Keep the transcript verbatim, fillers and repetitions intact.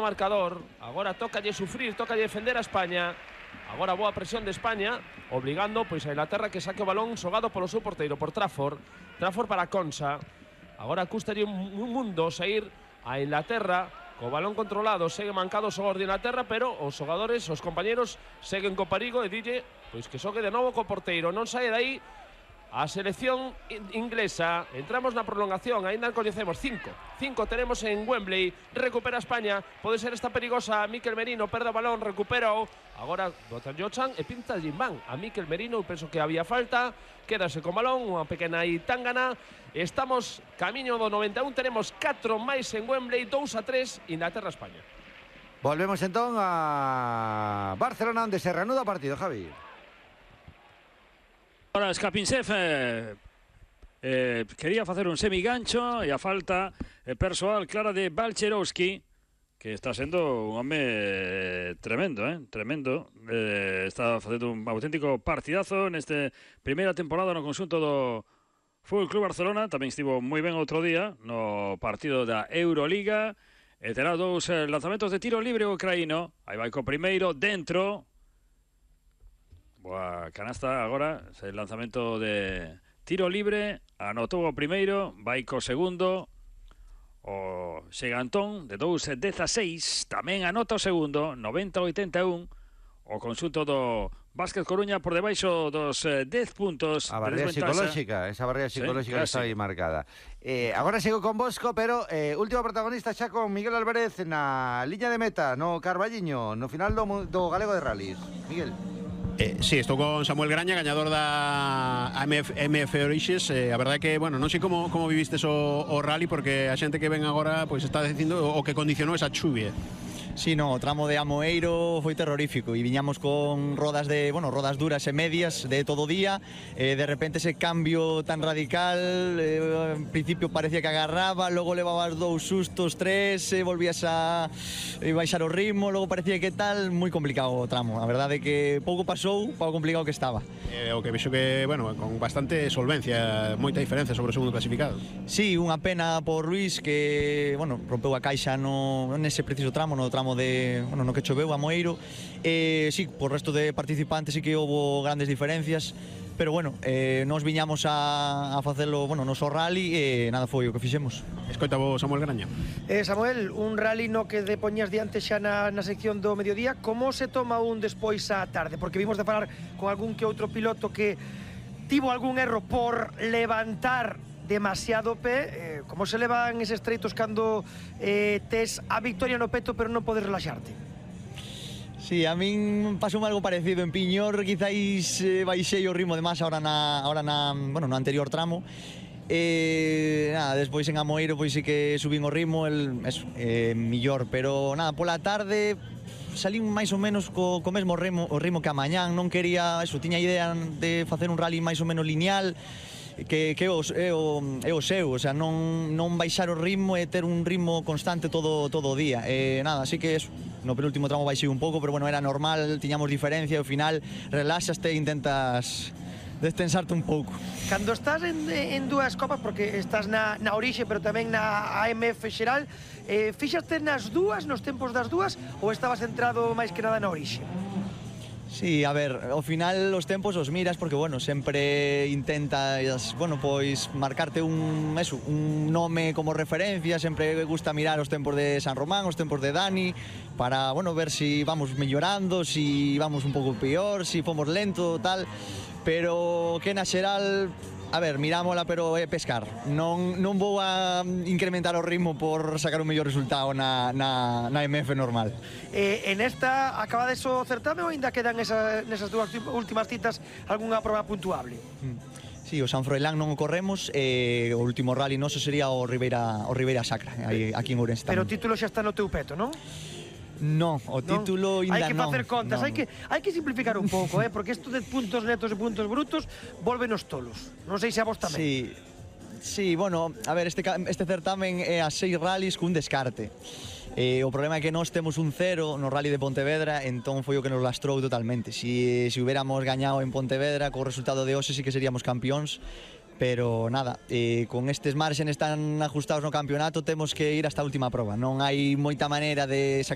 marcador, agora tócalle sufrir, tócalle defender a España. Agora boa presión de España, obligando pois a Inglaterra que saque o balón xogado polo seu porteiro, por Trafford. Trafford para Konsa. Agora custalle un mundo sair a Inglaterra co balón controlado, segue mancado o xogador de Inglaterra, pero os xogadores, os compañeros seguen co perigo e dille pois que xogue de novo co porteiro. Non sae dai a selección inglesa. Entramos na prolongación, ainda coñecemos cinco. Cinco tenemos en Wembley. Recupera España, pode ser esta perigosa. Mikel Merino perde o balón, recupera o agora botan Jochan e pinta Jimbán a Mikel Merino. Penso que había falta, quédase con balón, unha pequena itangana. Estamos camiño do noventa e un, tenemos catro máis en Wembley, dous a tres, Inglaterra-España. Volvemos entón a Barcelona, onde se reanuda o partido, Javi. Ahora Skapinsev eh, eh, quería facer un semigancho e a falta eh, persoal clara de Balcerowski, que está sendo un home tremendo, eh, tremendo. Eh, está facendo un auténtico partidazo neste primeira temporada no conxunto do Fútbol Club Barcelona. Tamén estivo moi ben outro día no partido da Euroliga. E terá dous eh, lanzamentos de tiro libre o ucraíno. Aí vai co primeiro dentro. Boa canasta agora, el lanzamento de tiro libre, anotou o primeiro, vai co segundo, o Xegantón de dous a dezaseis, tamén anota o segundo, noventa a oitenta e un, o conxunto do Básquet Coruña por debaixo dos dez puntos. A barreira de psicolóxica, esa barreira psicolóxica, sí, que está aí marcada. Eh, agora sigo con Bosco, pero eh, último protagonista xa con Miguel Álvarez na liña de meta, no Carballiño, no final do, do Galego de Rallys. Miguel. Eh, sí, estou con Samuel Graña, gañador da M F Orixes. eh, A verdade que, bueno, non sei como, como vivistes o, o rally, porque a xente que ven agora pois está dicindo o que condicionou esa chuvia. Sí, no, o tramo de Amoeiro foi terrorífico e viñamos con rodas de, bueno, rodas duras e medias de todo o día. Eh, de repente ese cambio tan radical, eh, en principio parecía que agarraba, logo levabas dous sustos, tres, eh, volvías a eh, baixar o ritmo, logo parecía que tal, moi complicado o tramo. A verdade é que pouco pasou, pouco complicado que estaba. Eh, o que vexo que, bueno, con bastante solvencia, moita diferencia sobre o segundo clasificado. Sí, unha pena por Luis que, bueno, rompeu a caixa no nese preciso tramo, no tramo de, bueno, no que choveu a Moeiro. Eh, sí, por resto de participantes sí que houve grandes diferencias, pero bueno, eh, nos viñamos a, a facelo, bueno, noso rally e nada foi o que fixemos. Escoita vos, Samuel Graña. Eh, Samuel, un rally no que de poñas diante xa na, na sección do mediodía, como se toma un despois á tarde? Porque vimos de falar con algún que outro piloto que tivo algún erro por levantar demasiado pé. eh, como se levan eses treitos cando eh, tes a victoria no peto pero non podes relaxarte? Sí, a min pasou algo parecido en Piñor, quizáis eh, baixei o ritmo de máis ahora na, ahora na, bueno, no anterior tramo. E nada, despois en Amoeiro pois sí que subín o ritmo, el, eso, eh, millor, pero nada, pola tarde salín máis ou menos co, co mesmo ritmo, o ritmo que a mañán. Non quería, eso, tiña idea de facer un rally máis ou menos lineal, que, que é, o, é, o, é o seu, o sea, non, non baixar o ritmo e ter un ritmo constante todo, todo o día. E nada, así que eso, no penúltimo tramo baixei un pouco, pero bueno, era normal, tiñamos diferencia, ao final relaxaste e intentas destensarte un pouco. Cando estás en, en dúas copas, porque estás na, na Orixe, pero tamén na A M F xeral, eh, fixaste nas dúas, nos tempos das dúas, ou estabas centrado máis que nada na Orixe? Sí, a ver, ao final os tempos os miras porque, bueno, sempre intentas, bueno, pois marcarte un, eso, un nome como referencia. Sempre gusta mirar os tempos de San Román, os tempos de Dani, para, bueno, ver si vamos mellorando, si vamos un pouco peor, si fomos lento, tal. Pero que na xeral, a ver, mirámola, pero é pescar. Non, non vou a incrementar o ritmo por sacar un mellor resultado na, na, na M F normal. Eh, en esta, acabades o certame ou ainda quedan esa, nesas dúas últimas citas algunha proba puntuable? Sí, o San Froilán non o corremos, e o último rally noso sería o Ribeira, o Ribeira Sacra, aí, aquí en Ourense. Pero o título xa está no teu peto, non? No, o título non? ainda non. Hai que facer contas, non. hai que, hai que simplificar un pouco, eh, porque isto de puntos netos e puntos brutos volvenos tolos. Non sei se a vos tamén. Sí, sí, bueno, a ver, este, este certamen é a seis rallies cun descarte. Eh, o problema é que nós temos un cero no rally de Pontevedra, entón foi o que nos lastrou totalmente. Si, si hubiéramos gañado en Pontevedra, co resultado de hoxe sí que seríamos campións, pero nada, eh, con estes marxenes tan ajustados no campeonato temos que ir hasta a última proba, non hai moita maneira de sacar